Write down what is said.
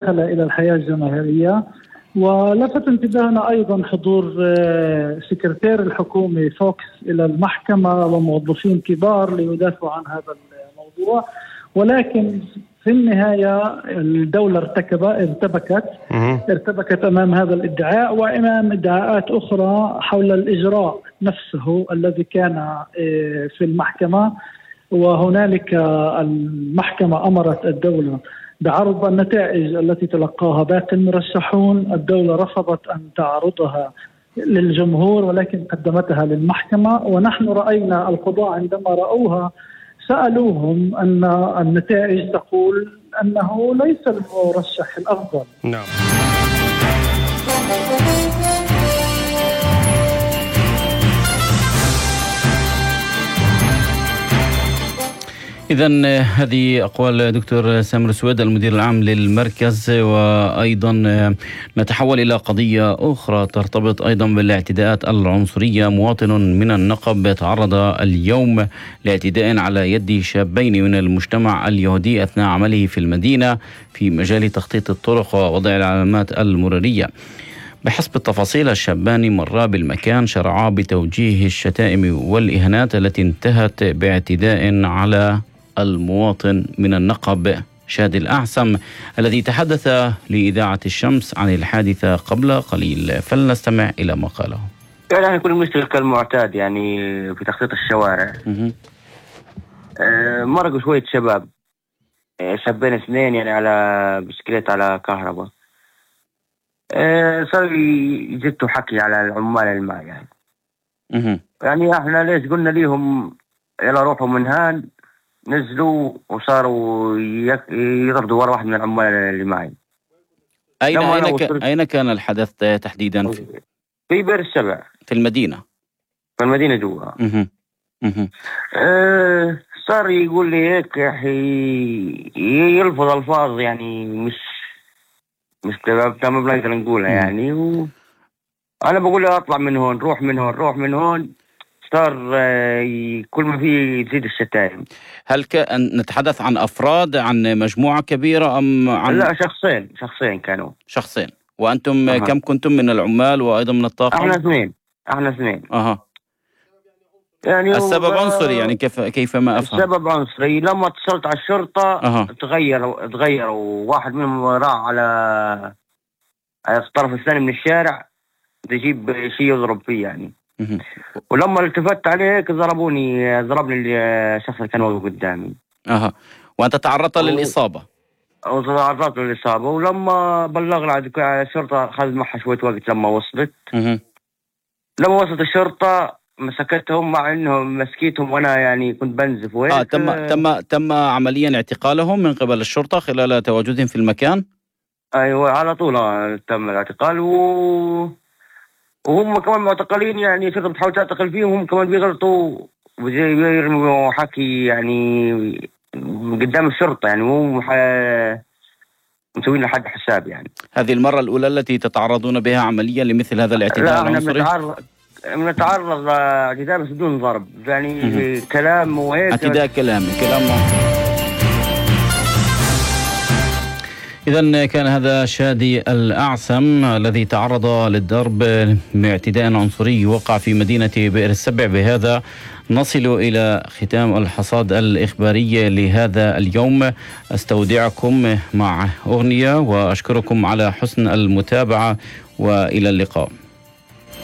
إلى الحياة الجماهيرية. ولفت انتباهنا أيضا حضور سكرتير الحكومة فوكس إلى المحكمة وموظفين كبار ليدافعوا عن هذا الموضوع، ولكن في النهاية الدولة ارتبكت أمام هذا الادعاء وأمام ادعاءات أخرى حول الإجراء نفسه الذي كان في المحكمة. وهنالك المحكمة أمرت الدولة بعرض النتائج التي تلقاها باقي المرشحون. الدولة رفضت أن تعرضها للجمهور ولكن قدمتها للمحكمة، ونحن رأينا القضاء عندما رأوها سألوهم أن النتائج تقول أنه ليس المرشح الأفضل. نعم. إذن هذه أقوال دكتور سامر سويد المدير العام للمركز. وأيضا نتحول إلى قضية أخرى ترتبط أيضا بالاعتداءات العنصرية. مواطن من النقب تعرض اليوم لاعتداء على يد شابين من المجتمع اليهودي أثناء عمله في المدينة في مجال تخطيط الطرق ووضع العلامات المرورية. بحسب التفاصيل الشابان مرا بالمكان شرعا بتوجيه الشتائم والإهانات التي انتهت باعتداء على المواطن من النقب شادي الأعسم الذي تحدث لإذاعة الشمس عن الحادثة قبل قليل، فلنستمع إلى ما قاله. يعني كل مشتغل كالمعتاد يعني في تخطيط الشوارع. مرقوا شوية شباب، شابين اثنين يعني على بسكليت على كهرباء. صار يجدوا حكي على العمال الماء يعني. يعني احنا ليش قلنا ليهم يلا روحوا من هان، نزلوا وصاروا يطردوا ورا واحد من العمال اللي معي. أين كان الحدث تحديدا؟ في بئر السبع في المدينة. في المدينة جوا. صار يقول لي هيك يا أخي، يلفظ ألفاظ يعني مش تمام بنقدر نقولها يعني. أنا بقول له أطلع من هون، روح من هون، روح من هون. صار كل ما فيه يزيد الشتائم. هل نتحدث عن أفراد، عن مجموعة كبيرة أم عن؟ لا، شخصين كانوا. شخصين. وأنتم كم كنتم من العمال وأيضا من الطاقم؟ احنا اثنين. يعني السبب عنصري يعني كيف ما أفهم؟ السبب عنصري. لما اتصلت على الشرطة تغيروا. واحد منهم راح على الطرف الثاني من الشارع تجيب شيء يضرب فيه يعني. ولما التفت عليك ضربني الشخص اللي كان واقف قدامي. وأنت تعرضت للإصابة؟ تعرضت للإصابة. ولما بلغنا على الشرطة أخذ معها شوية وقت. لما وصلت الشرطة مسكتهم، مع انهم مسكيتهم وانا يعني كنت بنزف وهيك. تم عمليا اعتقالهم من قبل الشرطة خلال تواجدهم في المكان؟ ايوه على طول تم الاعتقال. وهم كمان معتقلين يعني. الشرطة بتحاول تعتقل فيهم، هم كمان بيغلطوا وبيرموا حكي يعني قدام الشرطة يعني. مو مسوين لحد حساب يعني. هذه المرة الأولى التي تتعرضون بها عمليا لمثل هذا الاعتداء العنصري؟ نتعرض اعتداء بس بدون ضرب يعني. كلام وهيك. اعتداء كلام. إذن كان هذا شادي الأعسم الذي تعرض للضرب باعتداء عنصري وقع في مدينة بئر السبع. بهذا نصل إلى ختام الحصاد الإخباري لهذا اليوم. أستودعكم مع أغنية وأشكركم على حسن المتابعة وإلى اللقاء.